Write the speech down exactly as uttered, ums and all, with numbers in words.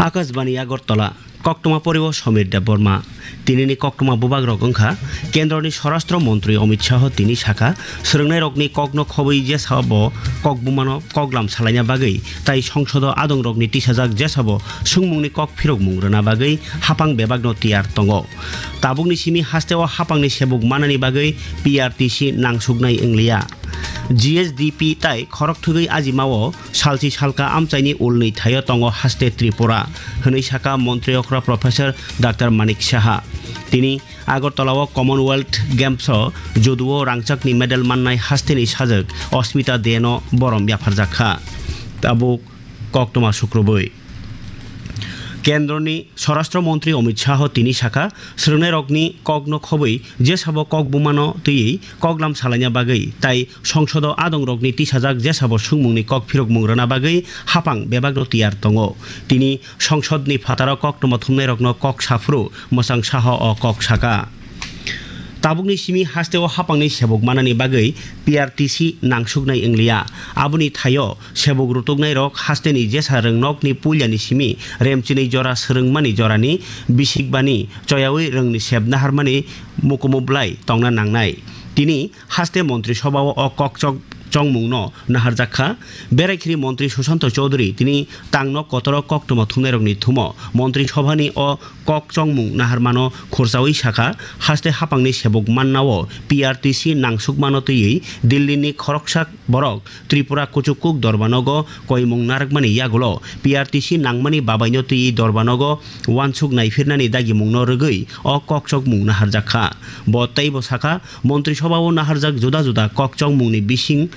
Akashbani Agartala, koktwma poriwo Somir Debbarma. Tinini koktwma bubagrok wngkha, Kendroni Swarashtra Montri Amit Shah tini sakha, swrwngnairokni kokno khobwi jesabo kok bumano koklam salaina bagwi tai songsodo adongrokni tisajak jesabo swngmungni kok phirokmung rwna bagwi haphang bebakno tiyar tongo. Tabukni simi hasteo haphangni sebuk manani bagwi P R T C nangsuknai wngliya. G S D P tai khorokthwgwi ajimao salsi salka amchaini ulnwi thaio tongo haste Tripura, hwnwi sakha Montri okra Professor Doctor Manik Saha. Tini Agartala-o Commonwealth Games-o judo-o rangchakni medal mannai hasteni sajwk Asmita De-no borom yapharjak kha. Tabuk koktwma sukrubwi. Kendroni Swarashtra Montri Amit Shah tini sakha, swrwngnairokni kokno khobwi jesabo kok bumano twiwi koklam salaina bagwi tai songsodo adongrokni tisajak jesabo swngmungni kok phirokmung rwna bagwi haphang bebakno tiyar tongo. Tini songsodni phataro koktwma thumnairokno kok saphuru Mwchang Saha o kok sakha. Tabukni simi hasteo haphangni sebuk manani bagwi P R T C nangsuknai wngliya. Aboni thaio sebuk rutuknairok hasteni jesa rwngnokni puilani simi remchinwi jora swrwngmani jorani bisikbani choyawi rwngni sep naharmani mukumu bwlai tongna nangnai. Tini haste Montri Sobhao o kokchok chongmungno naharjak kha. Beraikhiri Montri Sushanta Chowdhury tini tangno kotoro koktwma thumnairokni thumo Montri Sobhani o kok chongmung naharmano khursawi sakha, haste haphangni sebuk mannao P R T C nangsukmano twiwi Dillini khoroksa borok Tripura kuchuk kuk dorbanogo koimung narwkmani yagulo P R T C nangmani babaino twiwi dorbanogo wansuk naifirnani dagimungno rwgwi o kok chokmung naharjak kha. Bo teibo sakha, Montri Sobhao naharjak juda juda kok chongmungni bising